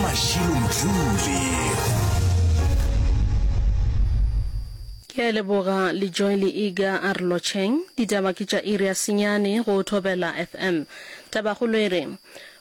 Mashilo Mdluli. Ke a leboga le Joy le Iga a re lotšheng. Ditaba ke tša iri ya senyane go Thobela FM. Tabakgolo e re,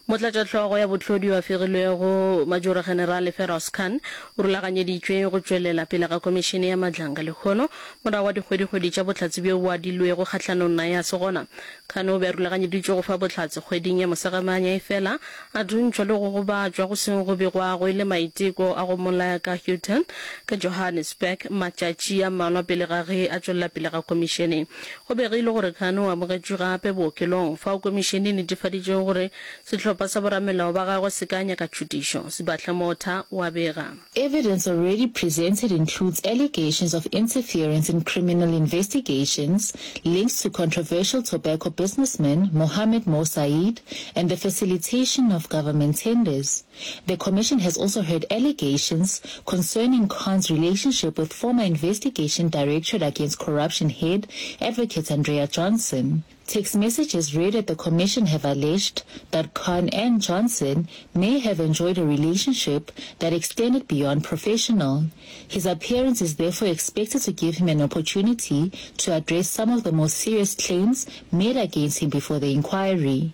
Motlatšahlogo ya bohlodi yo a fegilwego, Majoro Generale Feroz Khan, o rulaganyeditšwe go tšwelela pele ga Komišene ya Madlanga lehono, morago ga dikgwedikgwedi tša bohlatse bjo bo adilwego kgahlanong naye a se gona. Khan o be a rulaganyeditšwe go fa bohlatse kgweding ya Mosegamanya efela a thuntšhwa le go gobatšwa go seng go begwago e le maiteko a go mmolaya ka Houghton ka Johannesburg matšatši a mmalwa pele ga ge a tšwelela pele ga komišene. Go begilwe gore Khan o amogetšwe gape bookelong, fao komišene e netefaditšego gore sehlopha sa boramelao ba gagwe se ka nyaka tšhutišo. Sibahle Motha o a bega. Evidence already presented includes allegations of interference in criminal investigations linked to controversial tobacco businessman Mohammed Mo Saeed and the facilitation of government tenders. The commission has also heard allegations concerning Khan's relationship with former Investigation Directorate Against Corruption head Advocate Andrea Johnson. Text messages read at the commission have alleged that Khan and Johnson may have enjoyed a relationship that extended beyond professional. His appearance is therefore expected to give him an opportunity to address some of the more serious claims made against him before the inquiry.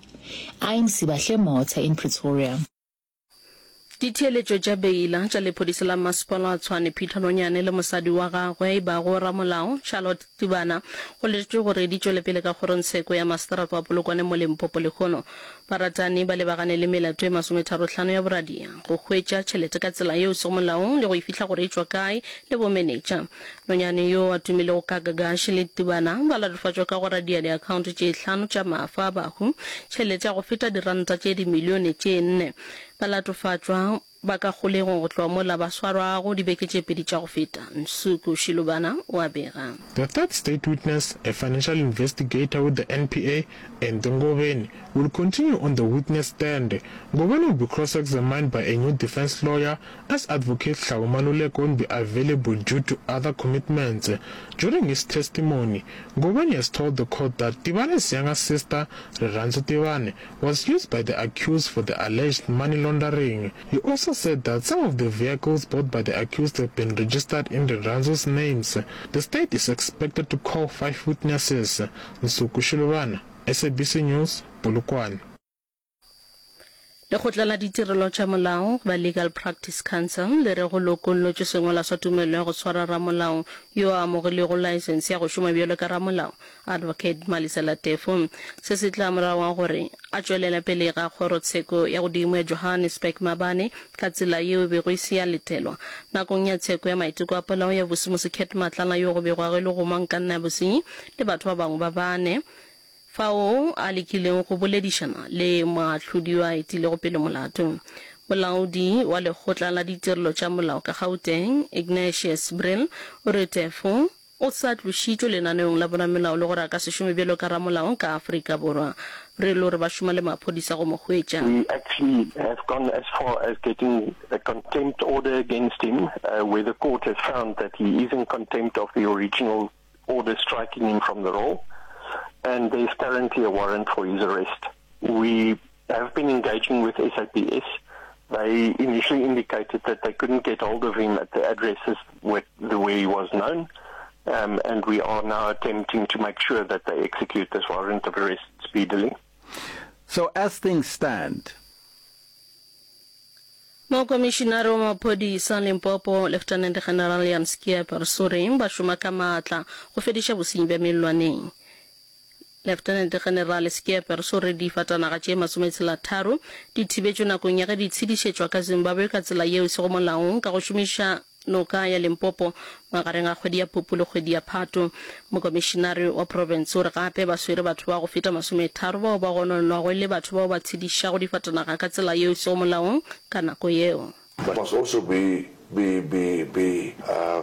I'm Sibahle Motha in Pretoria. Ditheeletšo tša beila tša lephodisa la masepala wa Tshwane Peter Nonyane le mosadi wa gagwe e bago ramolao Charlotte Tibana go letetšwe gore di tšwele pele ka kgorongtsheko ya maseterata wa Polokwane mo Limpopo lehono. Baratani ba lebagane le melato e masometharohlano ya boradia, go hwetša tšhelete ka tsela yeo e sego molaong le go e fihla gore e tšwa kae le bomenetša. Nonyane yo a tumilego ka Gagash le Tibana ba latofatšwa ka go radia diakhaonto tše hlano tša mafa a bahu tšhelete ya go feta diranta tše dimilione tše nne. Balatofatšwa ba ka kgolegong go tloga mola ba swarwago dibeke tše pedi tša go feta, Nsuku Shilubana o a bega. The third state witness, a financial investigator with the NPA, Andy Ngobeni, will continue on the witness stand. Ngobeni will be cross-examined by a new defense lawyer as Advocate Hlao Maluleke won't be available due to other commitments. During his testimony, Ngobeni has told the court that Tibane's younger sister, Rirhandzu Tibane, was used by the accused for the alleged money laundering. He also said that some of the vehicles bought by the accused have been registered in Rirhandzu's names. The state is expected to call five witnesses. Nsuku Shilubana, SABC News, Polokwane. Lekgotla la Ditirelo tša Molao goba Legal Practice Council le re go lokollotšwe sengwalwa sa tumelelo ya go swara ramolao yo a amogilego laesense ya go šoma bjalo ka ramolao, Advocate Malisela Teffo. Se se tla morago ga gore a tšwelela pele ga kgorotsheko ya godimo ya Johannesburg maabane ka tsela yeo e bego e se ya letelwa nakong ya tsheko ya maiteko a polao ya Vusi Mosekhet Matlala yo go begwago e le gomangkanna ya bosenyi le batho ba bangwe ba bane fao a lekilego go boledišana le moahlodi yo a etilego pele molato. Molaodi wa Lekgotla la Ditirelo tša Molao ka Gauteng, Ignatius Brill, o re Teffo o sa tlošitšwe lenaneong la boramelao le gore a ka se šome bjalo ka ramolao ka Afrika Borwa. Brill o re ba šoma le maphodisa go mo hwetša. We actually have gone as far as getting a contempt order against him, where the court has found that he is in contempt of the original order striking him from the roll, and there is currently a warrant for his arrest. We have been engaging with SAPS. They initially indicated that they couldn't get hold of him at the addresses with the way he was known, um, and we are now attempting to make sure that they execute this warrant of arrest speedily. So as things stand, Mokomišinare wa maphodisa Limpopo, Lieutenant General Jan Schiepers o re ba šoma ka maatla go fediša bosenyi bja mellwaneng. Lieutenant General Schiepers o re difatanaga tše masometshelatharo di thibetšwe nakong ya ge di tshedišetšwa ka Zimbabwe ka tsela yeo e sego molaong ka go šomiša Noka ya Limpopo magareng a kgwedi ya Phupu le kgwedi ya Phato. Mokomišinare wa profense o re gape ba swere batho ba go feta masometharo bao ba gononwago e le batho bao ba tshedišago difatanaga ka tsela yeo e sego molaong ka nako yeo. Must also be be be be uh.